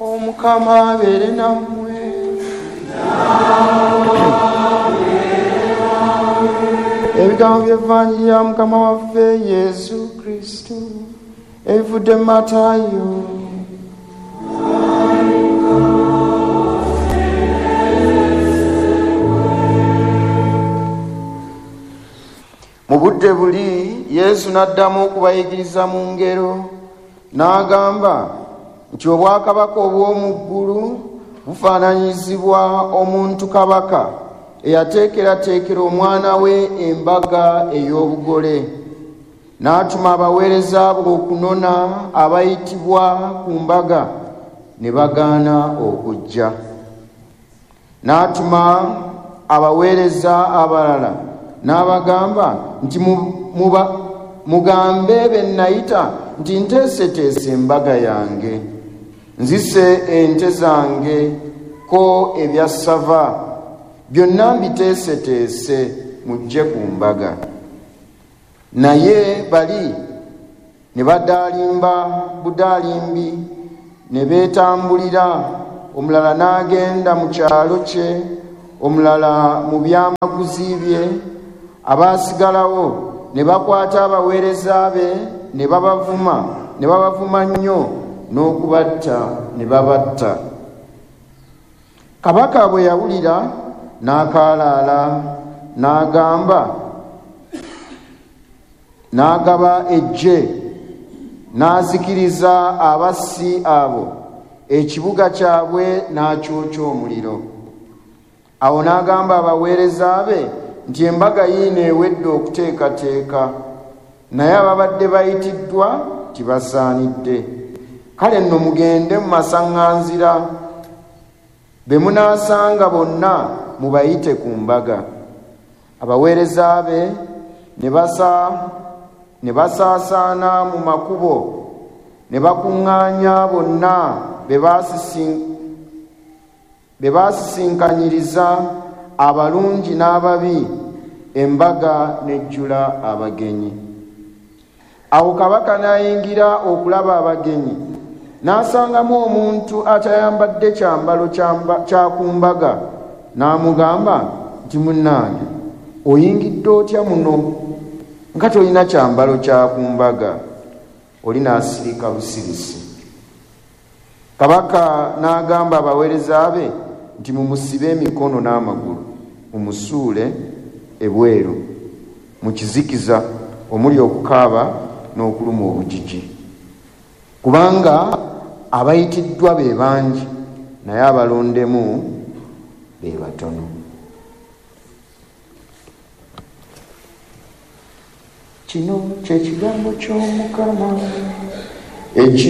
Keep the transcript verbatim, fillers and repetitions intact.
Omukama abeere nammwe. Ebigambo by'Evanjiri ya Mukama waffe Yesu Kristo ebivudde mu Matayo. Mu budde buli Yesu n'addamu okubayigiriza mu ngero, n'agamba nti obwakabaka obw'omu ggulu bufaananyizibwa omuntu kabaka eyateekerateekera omwana we embaga ey'obugole. N'atuma abaweereza be okunona abayitibwa ku mbaga, ne bagaana okujja. N'atuma abaweereza abalala n'abagamba nti mugambe be nayita nti nteeseteese embaga yange, nzise ente zange ko ebyassava byonna mbiteeseteese, mujje ku mbaga. Naye bali ne badaalimba budaalimbi ne beetambulira, omulala n'agenda mu kyalo kye, omulala mu byamaguzi bye. Abaasigalawo ne bakwata abaweereza be ne babavuma ne babavuma nnyo n'okubatta ne babatta. Kabaka bwe yawulira n'akaalaala, n'agamba n'agaba eggye n'azikiriza abassi abo, ekibuga kyabwe n'akyokya omuliro. Awo n'agamba abaweereza be nti embaga yiino ewedde okuteekateeka, naye ababadde bayitiddwa tibasaanidde. Kale nno mugende mu masaŋŋanzira, be munaasanga bonna mubayite ku mbaga. Abaweereza be ne basaasaana mu makubo ne bakuŋŋaanya bonna be baasisinkanyiriza, abalungi n'ababi, embaga n'ejjula abagenyi. Awo kabaka n'ayingira okulaba abagenyi, n'asangamu omuntu atayambadde kyambalo kya ku mbaga, n'amugamba nti munnange, oyingidde otya muno nga tolina kyambalo kya ku mbaga? Oli n'asirika busirisi. Kabaka n'agamba abaweereza be nti mumusibe emikono n'amagulu, mumusuule ebweru mu kizikiza omuli okukaaba n'okuluma obujiji, kubanga abayitiddwa be bangi naye abalondemu be batono. Kino kye kigambo ky'Omukama. Eki